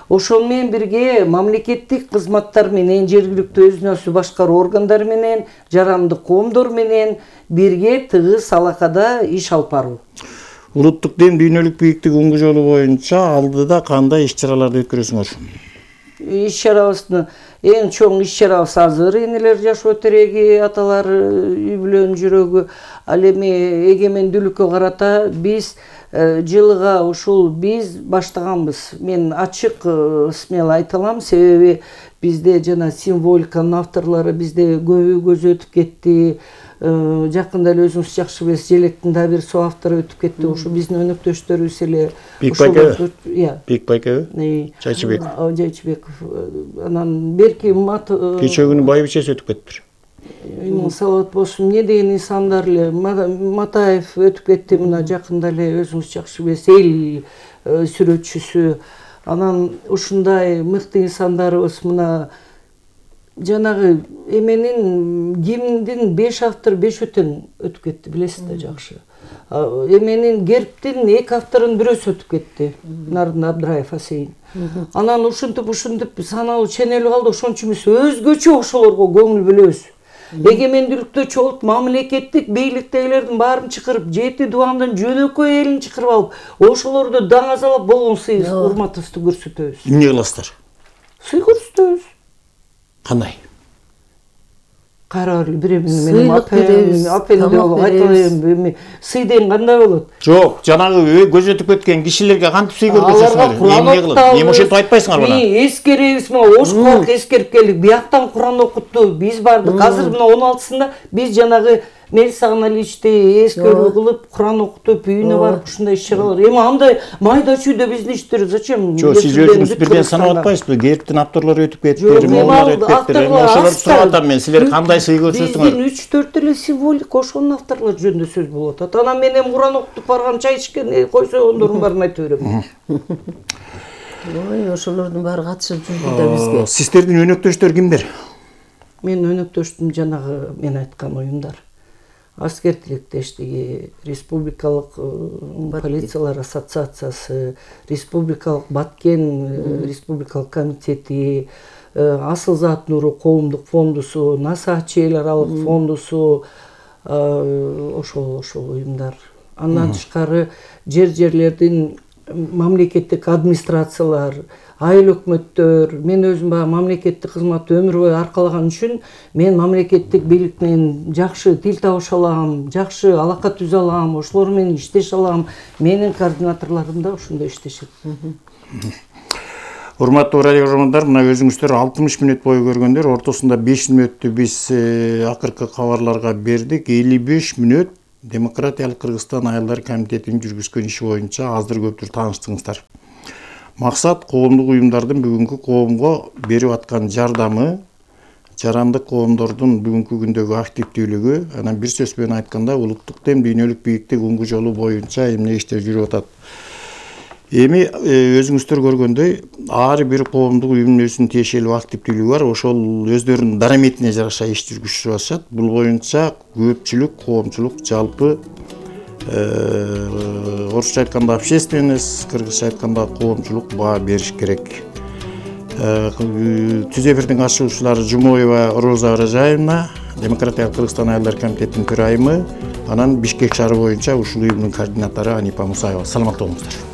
ошол менен бирге мамлекеттик кызматтар менен, жергиликтүү өзүн өзү башкаруу органдары менен, жарандык коомдор менен бирге тыгыз алакада иш алып баруу. Улуттук дем дүйнөлүк бийиктик уңгу жолу боюнча алдыда кандай иш-чараларды өткөрөсүңөр? Иш-чарабыздын эң чоң иш-чарабыз азыр энелер жашоо тереги, аталар үй бүлөнүн жүрөгү. Ал эми эгемендүүлүккө карата биз жылыга ушул биз баштаганбыз. Мен ачык смело айта алам, себеби бизде жана символиканын авторлору бизде көбү көзү өтүп кетти. Жакында эле өзүңүз жакшы билесиз, Желектин да бир соавтору өтүп кетти. Ошо биздин өнөктөштөрүбүз эле. Бекбайкебы? Иә. Бекбайкебы? Жайчыбеков. Жайчыбеков. Анан берки мат кечээ күнү байбичеси өтүп кетиптир. Салат болсун, эмне деген инсандар эле, Матаев өтүп кетти, мына жакында эле өзүңүз жакшы билесиз, эл сүрөтчүсү. Анан ушундай мыкты инсандарыбыз мына жанагы эменин гимндин беш автор, беш өтөн өтүп кетти, билесиз да жакшы. Эменин гербтин эки авторунун бирөөсү өтүп кетти, Нарын Абдраев Асейин. Анан ушинтип ушинтип саналуу ченелип калды, ошончо эмес өзгөчө ошолорго көңүл бөлөбүз. Эгемендүүлүктө чогулуп мамлекеттик бийликтегилердин баарын чакырып, жети дубандын жөнөкөй элин чакырып алып, ошолорду даңазалап болгон сый урматыбызды көрсөтөбүз. Эмне кыласыздар? Сый көрсөтөбүз. Кандай? Кара биремин менен апем, апем деп айталайм. Сый деген кандай болот? Жок, жанагы көз өтүп кеткен кишилерге кантип сый көрсөтөсүңөр? Эмне кылып? Эми ошентип айтпайсыңар бана. Ми эскеребиз, мына ош корк эскерип келдик. Бияктан Куран окутту. Биз бардык. Азыр мына он алтысында биз жанагы Мелис Аналичти эскерүү кылып, Куран окутуп, үйүнө барып ушундай иш чаралар. Эми андай майда чүйдө биздин иштер зачем? Жок, сиз өзүңүз бирден санап атпайсызбы? Гербтин авторлору өтүп кеттир, моулар өтүп кеттир. Эми ошолорду сурап атам мен, силер кандай сый көрсөтсөңөр? Биздин үч төрт эле символика ошонун авторлору жөнүндө сөз болуп атат. Анан мен эми Куран окутуп барган, чай ичкен, койсоңдордун баарын айтып берем. Ой, ошолордун баары катышып жүрдү да бизге. Сиздердин өнөктөштөр кимдер? Мен өнөктөштүм жанагы мен айткан уюмдар. Аскер тилектештиги, Республикалык полициялар ассоциациясы, Республикалык Баткен Республикалык комитети, Асыл Зат Нуру коомдук фондусу, Насачи эл аралык фондусу, ошол ошол уюмдар. Андан тышкары жер-жерлердин мамлекеттик администрациялар, айыл өкмөттөр, мен өзүм баягы мамлекеттик кызматты өмүр бою аркалаган үчүн мен мамлекеттик бийлик менен жакшы тил табыша алам, жакшы алака түзө алам, ошолор менен иштеше алам. Менин координаторлорум да ошондой иштешет. Урматтуу радио көрөрмандар, мына өзүңүздөр алтымыш мүнөт бою көргөндөр, ортосунда беш мүнөттү биз акыркы кабарларга бердик. элүү беш мүнөт Демократиялык Кыргызстан айылдар комитетинин жүргүзгөн иши боюнча аздыр көптүр тааныштыңыздар. Максат коомдук уюмдардын бүгүнкү коомго берип аткан жардамы, жарандык коомдордун бүгүнкү күндөгү активдүүлүгү, анан бир сөз менен айтканда улуттук дем дүйнөлүк бийиктик уңгу жолу боюнча эмне иштер жүрүп атат. Эми өзүңүздөр көргөндөй, ар бир коомдук уюмдун өзүнүн тиешелүү активдүүлүгү бар, ошол өздөрүнүн дараметине жараша иш жүргүзүп атышат. Бул боюнча көпчүлүк коомчулук жалпы орусча айтканда общественность, кыргызча айтканда коомчулук баа бериш керек. Түз эфирдин катышуучулары Жумоева Роза Оразаевна, Демократиялык Кыргызстан айылдар комитетинин төрайымы, анан Бишкек шаары боюнча ушул уюмдун координатору Анипа Мусаева. Саламатта болуңуздар.